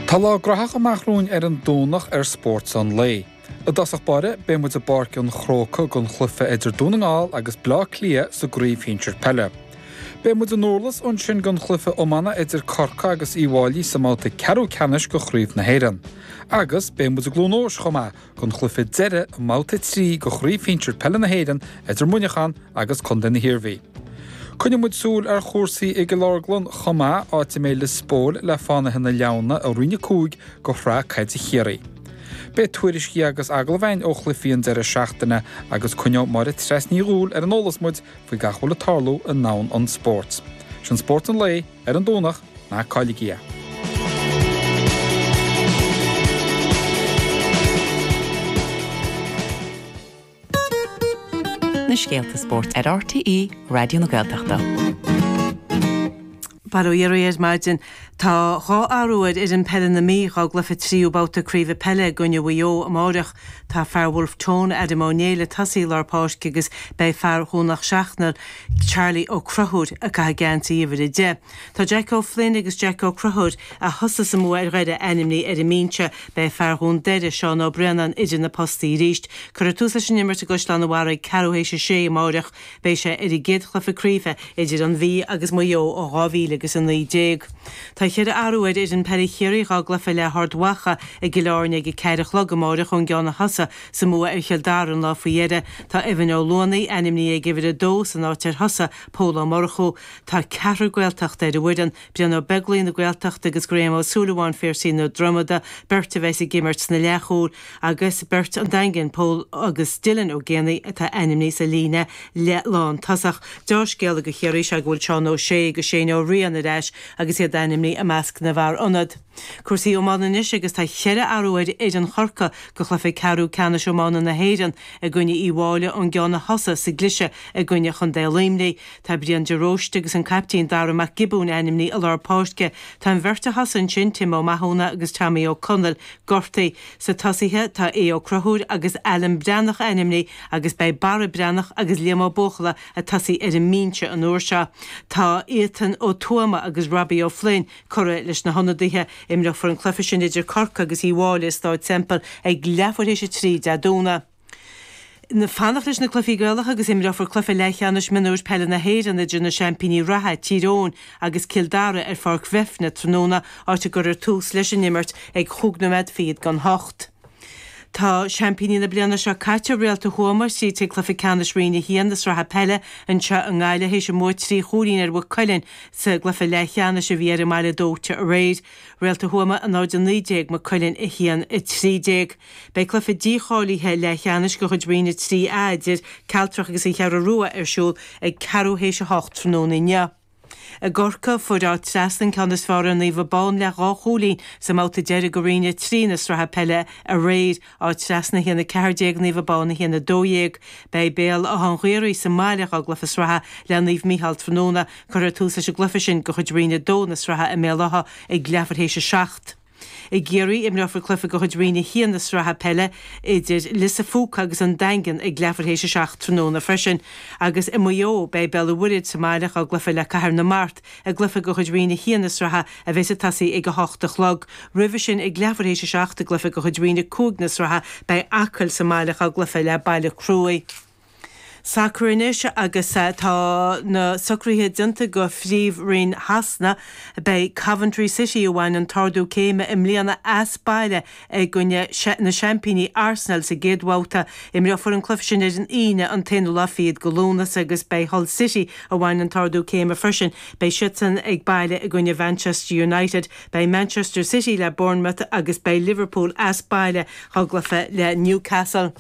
Tá lá graitheach amach romhainn ar an Domhnach ar Spórt an Lae. I dtosach báire, beidh muid i bPáirc an Chrócaigh don chluiche idir Dún na nGall agus Bleá Cliath sa gCraobh Shinsir Peile. Beidh muid i nDurlas ansin don chluiche iomána idir Corcaigh agus Uíbh Fháilí sa mbabhta ceathrú ceannais de Chraobh na hÉireann. Agus beidh muid i gCluain Eois chomh maith don chluiche deiridh i mbabhta 3 de Chraobh Shinsir Peile na hÉireann idir Muineachán agus Contae na hIarmhí. Coinneoidh muid súil ar chúrsaí i gCill Orglan chomh maith, áit a mbeidh Lios Póil le Fánaithe na Leamhna i Roinn 5 de Shraith Caide Chiarraí. Beidh tuairiscí agus agallaimh againn ó chluichí an deireadh seachtaine agus coinneoidh Máire Treasa Ní Dhubhghaill ar an eolas muid faoi gach a bhfuil ag tarlú i ndomhan an spóirt. Sin Spórt an Lae ar an Domhnach, ná cailligí é! Na scéalta spóirt ar RTÉ Raidió na Gaeltachta. Bail ó Dhia oraibh ar maidin. Tá 2 athrú ar fhoireann peile na Mí dhá gcluiche tríú babhta craoibhe peile i gcoinne Mhaigh Eo amáireach. Tá fear Bhulf Tón, Adam Ó Néill ag tosaí i lár páirce agus beidh fear Dhún Seachnaill, Charlie Ó Conchúir ag caitheamh geansaí uimhir 10. Tá Jack O'Flynn agus Jack Ó Conchúir, a thosaigh sa mbua ar Dhoire, ainmnithe ar an mbinse. Beidh fear Dhún Doire, Seán Ó Braonáin, idir na postaí arís. Cuirfear tús leis an imirt i gCaisleán an Bharraigh ceathrú théis a sé amáireach. Beidh sé ar an gcéad chluiche craoibhe idir an Mhí agus Maigh Eo ó 2019. Tá cheithre athrú ar fhoireann peile Chiarraí dhá gcluiche le hArd Mhacha i gCill Airne ag a ceathair a chlog amáireach ón gceann a thosaigh sa mbua ar Chill Dara an lá faoi dheireadh. Tá Evan Ó Luanaigh ainmnithe ag uimhir a dó san áit ar thosaigh Pól Ó Murchú. Tá ceathrar Gaeltachta ar an bhfoireann, Brian Ó Beaglaoich na Gaeltachta agus Graham Ó Súilleabháin Phiarsaigh na Dromoda, beirt a bheas ag imirt sna leathchúil, agus beirt an Daingin, Pól agus Dylan Ó Géanaigh atá ainmnithe sa líne leath-lántosach. Deá-scéala do Chiarraí is ea go bhfuil Seán Ó Sé agus Shane Ó Riain ar ais agus iad ainmnithe i measc na bhfear ionad. Cúrsaí iomána anois agus tá cheithre athrú ar fhoireann Chorcaí do chluiche ceathrú ceannais iomána na hÉireann i gcoinne Uíbh Fháilí ón gceann a thosaigh sa gcliseadh i gcoinne Chontae Luimnigh. Tá Brian de Róiste agus an caiptín Dara Mac Giobúin ainmnithe i lár páirce. Tá an bheirt a thosaigh ansin, Tim Ó Mathúna agus Tommy Ó Conaill, gortaithe. Sa tosaithe tá Aodh Ó Conchúir agus Alan Breathnach ainmnithe agus beidh Barra Breathnach agus Liam Ó Buachalla ag tosaí ar an mbinse an uair seo. Tá Ethan Ó Tuama agus Robbie Ó Floinn curtha leis na hionadaithe. Imreofar an cluiche sin idir Corcaigh agus Uíbh Fháilí i Stáid Semple ag leathuair théis a 3 Dé Domhnaigh. Fanacht leis na cluichí Gaelacha agus imreofar cluiche leathcheannais mionúir peile na hÉireann idir na seaimpíní reatha, Tír Eoghain agus Cill Dara ar Pháirc Bhreifne tráthnóna, áit a gcuirfear tús leis an imirt ag chúig nóiméad fichead don hocht. Tá seaimpíní na bliana seo caite, Réalta Thuama, tríd chuig cluiche ceannais Roinn 1 na sraithe peile anseo i nGaillimh théis a mbua trí chúilín ar Mhaigh Cuilinn sa gcluiche leathcheannais a bhí ar an mBaile Dóite aréir. Réalta Thuama 0-19, Maigh Cuilinn 1-13. Beidh cluiche dícháilithe leathcheannais de chuid Roinn 3A idir Cealtrach agus an Cheathrú Rua ar siúl ag ceathrú théis a hocht tráthnóna inniu. I gCorcaigh, fuair Áth Trasna an ceann is fearr ar Naomh Abán le dhá chúilín sa mbabhta deiridh de Roinn 3 na sraithe peile aréir, Áth Trasna 1-14, Naomh Abán 1-12. Beidh Béal Átha an Ghaorthaidh sa mbaile dhá gcluiche sraithe le Naomh Mícheál tráthnóna. Cuirfear tús leis an gcluiche sin de chuid Roinn 2 na sraithe i mBéal Átha ag leathuair théis a seacht. I gCiarraí, imreofar cluiche de chuid Roinn 1 na sraithe peile idir Lios a' Phúca agus an Daingean ag leathuair théis a 7 tráthnóna freisin. Agus i Maigh Eo, beidh Béal an Mhuirthead sa mbaile dhá gcluiche le Cathair na Mart i gcluiche de chuid Roinn 1 na sraithe a bheas ag tosaí ag 8 a chlog. Roimhe sin, ag leathuair théis a 7 i gcluiche de chuid Roinn 5 na sraithe, beidh Acaill sa mbaile dhá gcluiche le Baile Cruaidh. Sacar anois agus tá na socruithe déanta do Phríomh-Roinn Shasana. Beidh Coventry City, a bhain an t-ardú céime i mbliana, as baile i gcoinne na seaimpíní Arsenal sa gcéad bhabhta. Imreofar an cluiche sin ar an Aoine, an t-aonú lá fichead de Lúnasa agus beidh Hull City, a bhain an t-ardú céime freisin, beidh siadsan ag baile i gcoinne Mhanchester United. Beidh Manchester City le Bournemouth agus beidh Liverpool as baile dhá gcluiche le Newcastle.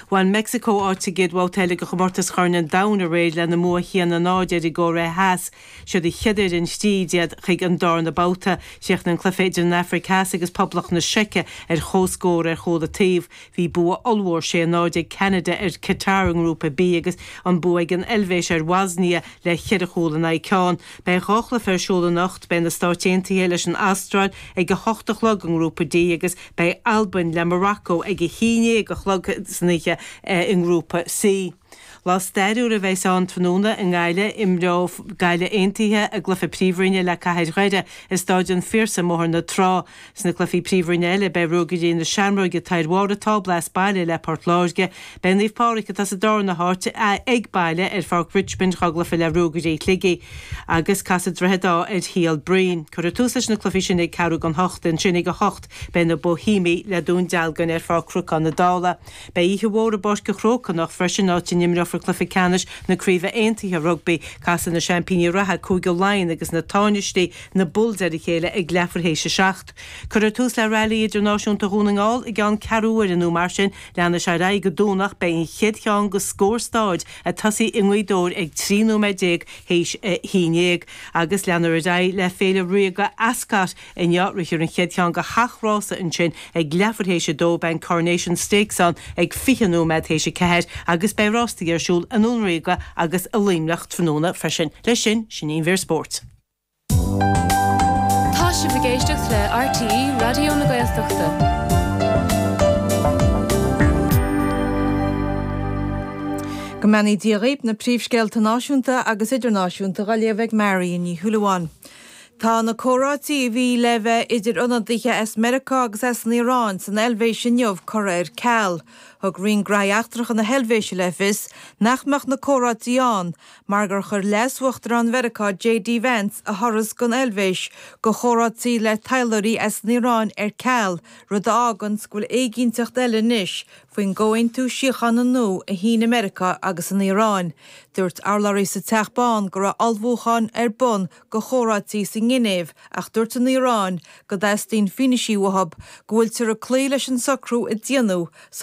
Bhain Meicsiceo áit sa gcéad bhabhta eile de chomórtas Chorn an Domhain aréir lena mbua 1-0 ar an gCóiré Theas. Siad an chéad fhoireann tríd iad chuig an darna babhta. Chríochnaigh an cluiche idir an Afraic Theas agus Poblacht na Seice ar comhscór ar chúl an taobh. Bhí bua ollmhór 6-0 ag Ceanada ar Qatar i nGrúpa B agus an bua ag an Eilvéis ar Bhosnia le cheithre chúl in aghaidh ceann. Beidh dhá chluiche ar siúl anocht. Beidh na Stáit Aontaithe leis an Astráil ag a hocht a chlog i nGrúpa D agus Beidh Albain le Morocco ag a haon dhéag a chlog san oíche i nGrúpa C. Lá stairiúil a bheas ann tráthnóna i nGaillimh. Imreoidh Gaillimh Aontaithe a gcluiche Príomhroinne le Cathair Dhoire i Stáid an Phiarsaigh i mBóthar na Trá. Sna cluichí Príomhroinne eile beidh Ruagairí na Seamróige atá ar bharr an tábla as baile le Port Láirge. Beidh Naomh Pádraig atá sa darna háit ag baile ar Pháirc Richmond dhá gcluiche le Ruagairí Shligigh agus casfaidh Droichead Átha ar Shíol Broin. Cuirfear tús leis na cluichí sin ag ceathrú don hocht. Ansin ag a hocht beidh na Boihéamaigh le Dún Dealgan ar Pháirc Chnocán na Dála. Beidh oíche mhór i bPáirc an Chrócaigh anocht freisin, áit a n-imreofar cluiche ceannais na Craoibhe Aontaithe Rugbaí. Casfaidh na seaimpíní reatha, Cúige Laighean, agus na tánaistí, na Bulls, ar a chéile ag leathuair théis a seacht. Cuirfear tús le Railí Idirnáisiúnta Dhún na nGall i gceann ceathrú uaire nó mar sin. Leanfaidh sé ar aghaidh go Domhnach. Beidh an chéad cheann de scór staid ag tosaí i nGaoth Dobhair ag 13 nóiméad théis a haon dhéag. Agus leanfar ar aghaidh le Féile Ríoga Ascot Inniu, rithfear an chéad cheann de sheacht rása ansin ag leathuair théis a dó, beidh an Coronation Stakes ann ag 20 nóiméad théis a ceathair agus beidh rástaí ar siúl i nDún Ríoga agus i Luimneach tráthnóna freisin. Leis sin, sin í an mhír spóirt. Tá sibh ag éisteacht le RTÉ Raidió na Gaeltachta. Go mbeannaí Dia dhaoib, na príomhscéalta náisiúnta agus idirnáisiúnta dhá léamh ag Marion Ní Shúilleabháin. Tá na comhráití a bhí le bheith idir ionadaithe as Meiriceá agus as an Iaráin san Eilvéis inniu curtha ar ceal. Thug Roinn Gnóthaí Eachtracha na hEilvéise le fios nach mbeadh na comhráití ann mar gur chuir Leas-Uachtarán Mheiriceá JD Vance a thuras don Eilvéis go chomhráití le taidhleoirí as an Iaráin ar ceal, rud a fháganns go bhfuil éiginnteacht eile anois faoin gcomhaontú síochána nua a shínigh Meiriceá agus an Iaráin. Dúirt urlabhraí sa Teach Bán go raibh ullmhúcháin ar bun go chomhráití sa nGinéiv ach dúirt an Iaráin go dteastaíonn fianaisí uathu go bhfuiltear ag cloí leis an socrú a déanadh sa.